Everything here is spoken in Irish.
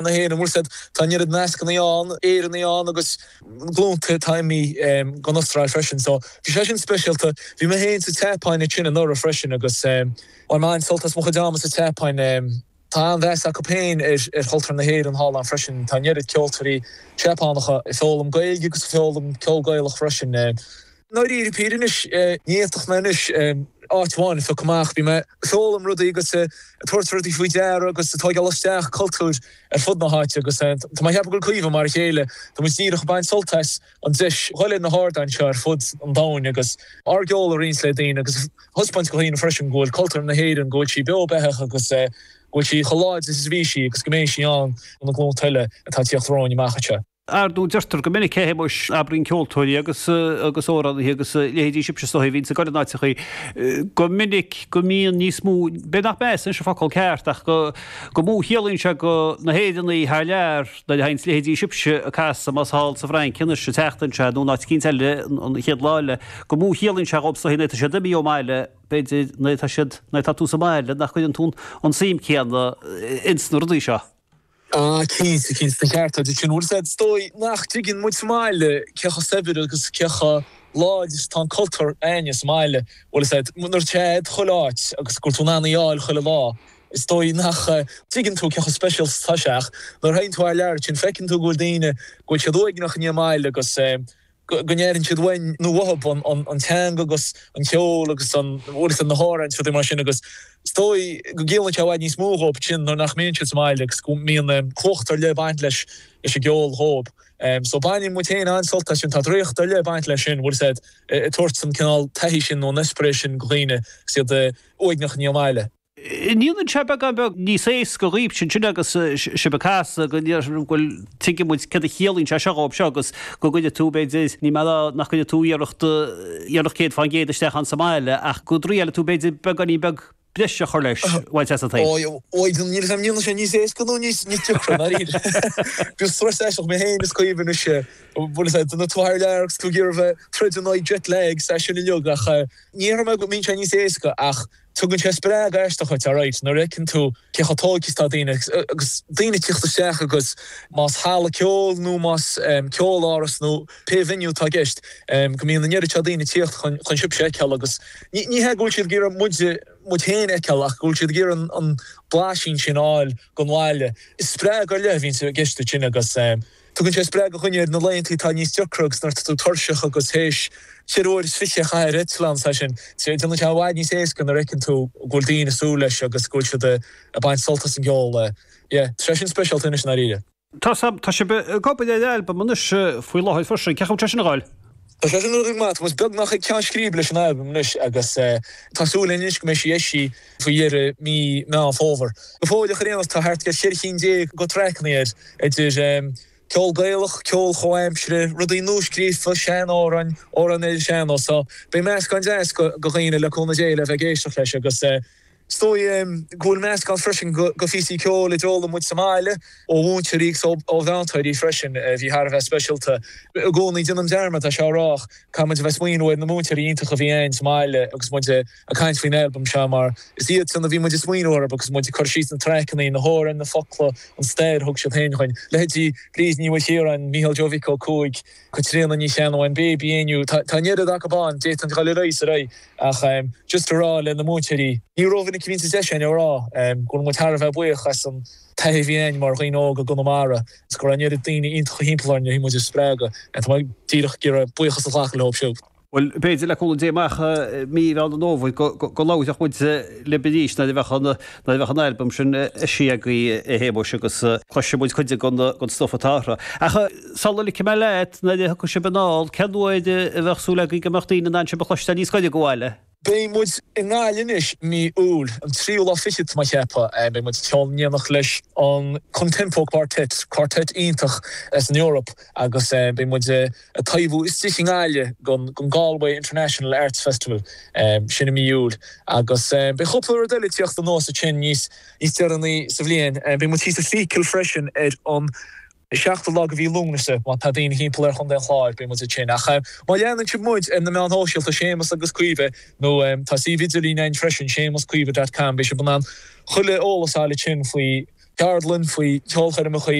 na hÉireann, bhfuil 's a'd, tá an oiread nascanna ann, Éireannaigh ann agus glúnta atá imithe gon Astráil freisin. So bhí sé sin speisialta. Bhí mé féin sa tSeapáin ansin anuraidh freisin agus bhain mé an-sult as mo chuid ama sa tSeapáin. Tá an-mheas acu féin ar chultúr na hÉireann thall ann freisin. Tá an oiread ceoltóirí Seapánacha ag foghlaim Gaeilge agus ag foghlaim ceol Gaelach freisin. I ndáiríre píre anois, ní fhéadfadh mé anois áit amháin a phiocadh amach. Bhí mé ag foghlaim rudaí agus ag tabhairt rudaí faoi deara agus ag tóigeáil isteach cultúir ar fud na háite agus tá mé ag ceapadh go bhfuil Caoimhe mar a chéile. Tá muid díreach ag baint sult as an deis dhul ar na hardáin seo ar fud an domhain agus ár gceol a roinnt le daoine agus a thaispeáint do dhaoine freisin go bhfuil cultúr na hÉireann, go bhfuil sí beo beathach agus go bhfuil sí chomh láidir is a bhí sí agus go mbeidh sí ann do na glúnta eile atá ag tíocht romhainn amach anseo. Ar ndóigh, deirtear go minic, a Shéamuis, abraíonn ceoltóirí agus agus amhránaithe agus a leithéidí sibhse is dóigh a bhíonns ag dul in áiteachaí, go minic go mbíonn níos mó, b'fhéidir nach meas anois an focal ceart ach go go mó chiallaíonn sé go na hÉireannaigh thar lear nuair a thaganns leithéidí sibhse ag casadh más thall sa Bhfrainc anois an tseachtain seo nó in áit eicínt eile an chéad lá eile, go mó chiallaíonn sé dhóibh is dóigh nuair atá siad imithe ón mbaile, b'fhéidir nuair atá siad, nuair atá tú sa mbaile nach gcuireann tú an tsuim céanna ins na rudaí seo. Ah, cinnte, cinnte, tá an ceart agat ansin. Bhfuil 's a'd, is dóigh nach dtuigeann muid sa mbaile cé chomh saibhir agus cé chomh láidir is atá an cultúr a'ainne sa mbaile. Bhfuil 's a'd, nuair atá sé a'd chuile áit agus go bhfuil tú in ann í a fháil chuile lá, is dóigh nach dtuigeann tú cé chomh speisialta is atá sé ach nuair a théann tú thar lear ansin feiceann tú go bhfuil daoine, go bhfuil siad uaigneach i ndiaidh a mbaile agus eh, go n-airíonn siad uainn nó uathub an teanga agus an ceol agus an, bhfuil 's a'd, na hamhráin is rudaí mar sin agus is dóigh go gciallaíonn sé i bhfad níos mó dhóibh sin nuair nach mbíonn siad sa mbaile agus go mbíonn cumhacht ar leith ag baint leis leis an gceol dhóibh. So baineann muid féin an-sult as sin, tá draíocht ar leith ag baint leis sin, bhfuil 's a'd, ag tabhairt an cineál taithí sin nó an eispéireas sin do dhaoine agus iad uaigneach i ndiaidh a mbaile. An ndéanann sé beagán beag níos éasca dhaoibhse ansin agus sibh ag casadh go bhfuil, tuigeann muid céard a chiallaíonn sé seo dhóibh seo agus go gcuirfidh tú, b'fhéidir, níl mé ag rá nach gcuirfidh tú iarracht, iarracht 100% isteach ann sa mbaile ach go dtriailfidh tú b'fhéidir beagáinín beag breise a chur leis, bhaint as an taobh. Ó, níl 'fhios a'm an ndéanann sé níos éasca nó níos deacra, ndáiríre. Bíonn strus aisteach mé féin is Caoimhe anois, bhfuil 'fhios a'd, nuair atá tú thar lear agus tú ag iarraidh bheith troid in aghaidh jet lag is é sin uilig ach ní déarfaidh mé go mbíonn sé níos éasca ach Tugann sé spreagadh aisteach dhuit, alright, nuair a fheiceann tú cé chomh tógtha is atá daoine agus daoine ag tíocht isteach agus más halla ceoil nó más ceoláras nó pé venue atá i gceist, go mbíonn an oiread seo daoine ag tíocht chun chun sibhse a fheiceáil agus ní ní hea go bhfuil siad ag iarraidh muid muid féin a fheiceáil ach go bhfuil siad ag iarraidh an an blaisín sin a fháil den bhaile. Is spreagadh ar leith a bhíonn i gceist ansin agus. Tugann sé spreagadh do dhuine ar na laethanta atá níos deacra agus nuair atá tú tuirseach agus théis cheithre uair is fiche a chaitheamh ar eitleán, is é sin. Déanann sé i bhfad níos éasca nuair a fheiceann tú go bhfuil daoine ag súil leis agus go bhfuil siad ag baint sult as an gceol. Yeah, tá sé sin speisialta anois i ndáiríre. Tá tá sibh ag obair ar albam anois faoi láthair freisin. Cén chaoi a bhfuil sé sin ag gabháil? Tá sé sin ag dul go maith. Tá muid beagnach ag ceann scríbe leis an albam anois agus tá súil againn anois go mbeidh sí eisithe faoi dheireadh mí Meán Fómhair. Go fóilleach ar aon nós tá thart ar cheithre chinn déag de traiceanna air, idir ceol Gaelach, ceol chomhaimseartha, rudaí nuascríofa, sean-amhráin, amhráin ar an sean-nós. So beidh meascán deas do dhaoine le cúnamh Dé le bheith ag éisteacht leis agus Is dóigh go bhfuil meascán freisin de phíosaí ceoil a d'fhoghlaim muid sa mbaile, ó mhúinteoirí agus ó mheantóirí freisin, a bhí thar a bheith speisialta. I gcónaí déanaim dearmad é seo a rá ach caithfidh muid a bheith ag smaoineamh ar na múinteoirí iontacha a bhí againn sa mbaile agus muid ag caint faoin albam seo mar is iadsan a bhí muid ag smaoineamh orthu agus muid ag cur síos na traiceanna, na hamhráin, na focla, an stair a thug siad féin chugainn. Leithéidí Bríd Ní Mhaoilchiaráin, Mícheál Joe Mhic Ó Cuaig, Caitríona Ní Cheannabháin, Baby Éinniú, tá an oiread acu ann, d'fhéadfainn dul ar aghaidh is ar aghaidh ach just a rá le na múinteoirí, ní rómhinic a bhíonns an deis againn a rá go bhfuil muid thar a bheith buíoch as an taithí a bhí againn mar dhaoine óga i gConamara agus go raibh an oiread daoine iontacha thimpeall orainn a bhí muid a spreagadh. Tá mé díreach ag iarraidh buíochas a ghlacadh leo siúd. Bhuel, b'fhéidir, le cúnamh Dé amach mí Mheán an Fhómhair go labharfadh muid libh arís nuair a bheadh an, nuair a bheadh an albam sin eisithe agaibh, a Shéamuis, agus cloisfidh muid cuid den stuif atá orthu. Ach sula ligfidh mé leat, nuair a thiocfaidh sibh anall, cén uair a bheadh súil agaibh go mbeadh daoine in ann sibh a chloisteáil níos gaire do bhaile? Beidh muid i nGaillimh anois mí Iúil, an tríú lá fichead tá mé ag ceapadh. Beidh muid ag ceol in éineacht leis an Contempo Quartet, quartet iontach as an Eoraip agus beidh muid ag taibhiú istigh i nGaillimh don Galway International Arts Festival, sin i mí Iúil. Agus beidh cúpla rud eile ag tíocht anuas ansin níos deireanaí sa bhliain. Beidh muid thíos i Feakle freisin ar an seachtú lá de mhí Lúnasa, má tá daoine thimpeall ar Chontae an Chláir, beidh muid ansin. Ach má leanann sibh muid ar na meáin shóisialta, Séamus agus Caoimhe, nó tá suíomh idirlín againn freisin, séamuscaoimhe dot com, beidh sibh in ann chuile eolas a fháil ansin faoi. ceardlann, faoi cheolchoirmeacha.